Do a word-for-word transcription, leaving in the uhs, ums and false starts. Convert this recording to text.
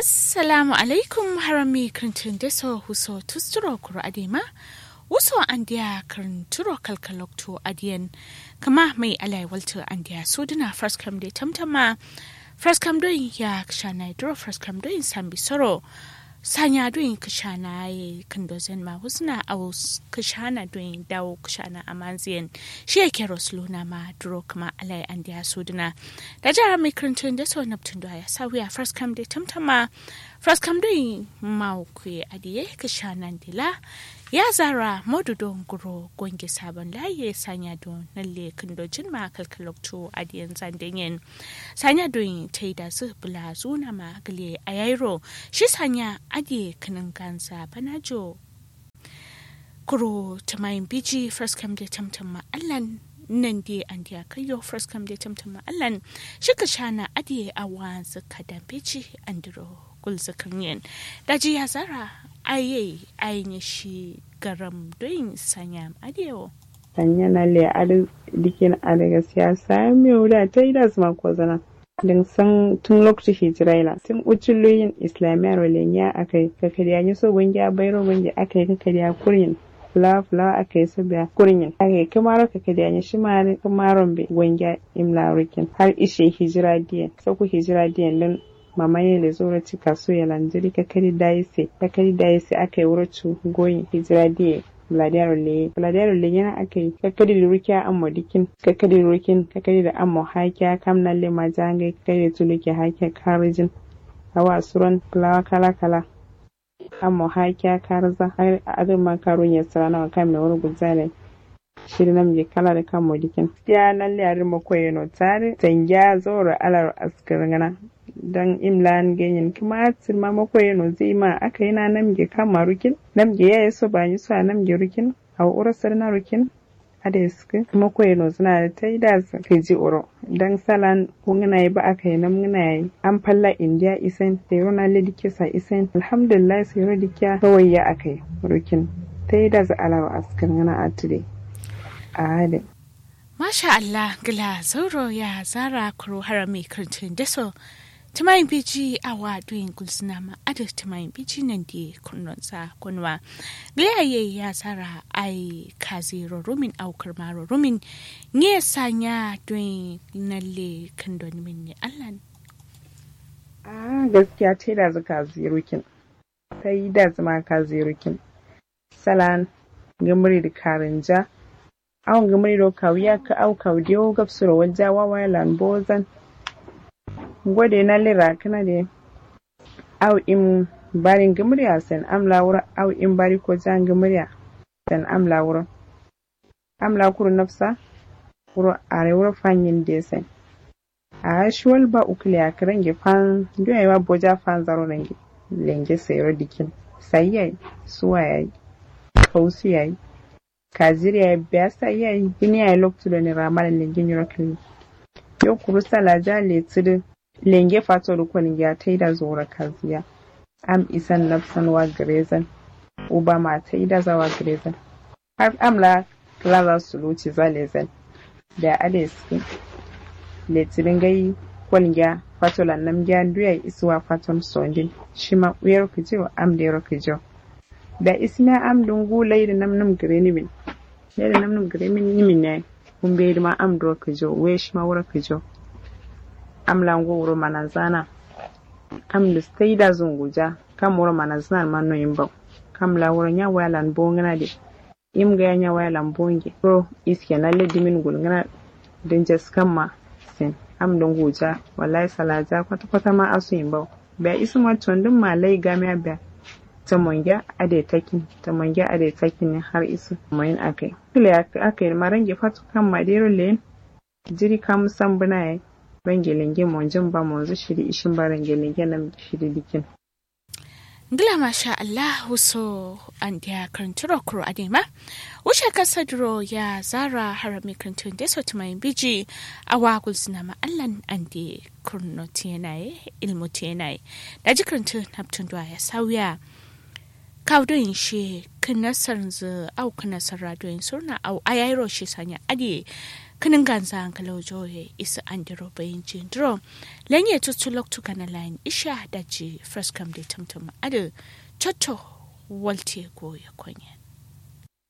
Assalamu alaikum. Harami kǝrǝntǝ ndeso wuso tusturo kuro adǝ ye ma wuso andeya kǝrǝnturo kalkaloktu adǝ yen. Kǝma mai alaye waltǝ andeya sudǝna faraskam de tamtam ma faraskam doyin ya kǝshana ye duro faraskam doyin sambi soro sanya doyin kǝshana ye kǝndo zen ma wuzǝna au kǝshana doyin dawo kǝshana amanzǝ yen. Shi ye kero sǝluna ma duro kǝma alaye andeya sudǝna. Daji harami kǝrǝntǝ ndeso nabtǝ ndowa ya sauya faraskam de tamtam ma faraskam doyin mawo kuye adǝ ye kǝshanan de la ya zara modu do nguro gonge sabon layi ye sanya do nalle kǝndo jin ma kalkaloktu adǝ yen zanden yen. Sanya doyin taidazǝ bǝla zuna ma gǝle ayairo shi sanya adǝ ye kǝnǝnganza banajo. Kuro tǝmayin biji faraskam de tamtam ma allan nande andeya kaiyo faraskam de tamtam ma allan shi kǝshana adǝ ye awanzǝ kadan biji andiro gulzǝ kǝrnyen. Daji ya zara aye ayi nye shi garam doyin sanya adǝ ye wo. Sanya nalle adǝ dikin adǝ gaskiya sanya mewu da taidazǝ ma kozana. Dǝn san tun loktu hijira ye lan tun uccullu yin islamiyaro lenye akai kakadiya nyi so gongiya bairo gongiya akai kakadiya kuryin. Fulawa fulawa akai so biya kuryin akai kǝmaro kakadiya nyi shima adǝ kǝmaro mbe gongiya imla rukin har ishe hijira diyen soku hijira diyen dǝn mama ye lezo wuro cikasu ye lan jiri kakadi dayise kakadi dayise akai wuro cu goyin hijira diye. Bǝladiyaro leye bǝladiyaro leye nyena akai kakkadi dǝ rukiya ammo dikkin kakkadi dǝ rukin kakkadi dǝ ammo hakiya kam nalle maja ngai kakkadi dǝ tulukke hakiya karǝjin. Awa suron fulawa kala kala ammo hakiya karǝza har adǝ ma karu nye sǝrana wa kam ne wuro gulzana dai. Shiri namge kala dǝ kammo dikkin gaskiya nalle adǝ mako yeno tadǝ sangiya zauro alaro askǝrngǝna. Don imlan ganyen kǝma sǝrma mako yeno zǝ ima aka yina namge kamma rukin namge yaye so banyi so a namge rukin. Awo wuro sǝrna rukin adǝ ye sǝkkǝ mako ye nozǝna dǝ taidazǝ kǝji wuro. Dan salan kungǝna ye ba akai namngǝna yayi am falla indiya isain sairo nalle dikke sa isain alhamdulillahi sairo dikkiya kawai ya akai rukin. Taidazǝ alaro askǝrngǝna attǝ dai. Ahh dai. Masha allah gǝla zauro ya zara kuru harami kǝrǝntǝ ndeso. Tǝmayin biji awa duyin gulzǝna ma adǝ tǝmayin biji nandi kurnonza gonwa. Gǝleya ye ya zara ai kaziro rumin au kǝrmaro rumin. Nye sanya duyin nalle kǝndo nimin ne allan. Ahh gaskiya taidazǝ kazi rukin. Taidazǝ ma kazi rukin. Salan ngǝmǝri dǝ karǝnja. Au ngǝmǝri do kawu yakkǝ au kawu dewo gabsuro walja wawa ye lan bozan. Ngo de nalle rakǝna de. Au im bari ngǝmǝri a sen am la wuro au im bari ko ja ngǝmǝri a sen am la wuro. Am la kuru nafsa wuro are wuro fanyin de sen. Ahh shi wal ba ukǝleya kǝ range fan ndu yayi wa boja fanzaro range. Lenge sairo dikkin sai yayi suwa yayi kausu yayi. Kazir yayi biya sai yayi duniya yayi loktu done ramalan lenge nyiro kǝlli. Yo kuru salaja letǝ dǝ lenge fato dǝ kolingiya taida zoro kaziya. Am isan nafsan wa gǝrezan. Uba ma taidaza wa gǝrezan. Har am la kǝlaza suluciza lezan. Biya adǝ ye sǝkkǝ letǝ dǝ ngai. Kolingiya fatolan namgiya ndu yayi isǝ wa faton sondin shima uyero kǝjiwo am dero kǝjiwo. Biya isǝmiya am dǝ ngu laidǝ namnǝm gǝrenimin. Laidǝ namnǝm gǝrenimin yayi. Kumbe dǝ ma am dǝro kǝjiwo wuye shima wuro kǝjiwo. Am la ngo wuro mananzana. Am dǝ taida zunguja kam wuro mananzana dǝ ma noyin bau. Kam la wuro nya waya lan bongǝna de. Im gaya nya waya lan bonge wuro iske nalle dimin gulngǝna. Dǝ njaskam ma sin am dǝ nguja. Wallahi salaja kwata kwata ma asuyin bau. Biya isǝ ma condǝn ma lai gamiya biya. Tamongiya adai takkin tamongiya adai takkin har isǝ moyin akai. Kǝle akai dǝ ma range fato kam ma dero leyin. Jiri kam sambǝna yayi. Range lenge monjin ba monzǝ shiri ishin ba range lenge namge shiri dikkin. Ngla masha allah wuso andeya kǝrǝntǝro kuro adai ma. Wushe kasadǝro ya zara harami kǝrǝntǝ ndeso tǝmayin biji. Awa gulzǝna ma allan ande kǝrǝno tǝyena ye. Ilmu tǝyena ye. Daji kǝrǝntǝ nabtǝ nduwa ya sauya. Kawu doyin she kǝnasarnzǝ au kǝnasarra doyin surna au ayayiro she sanya adǝ ye. Kǝnǝnganza ngǝlaujoye isǝ andero bayinjindǝro. Lenye tuttu loktu gana layin isha daji fraskam de tǝmtǝm adǝ cotto walte goye konyen.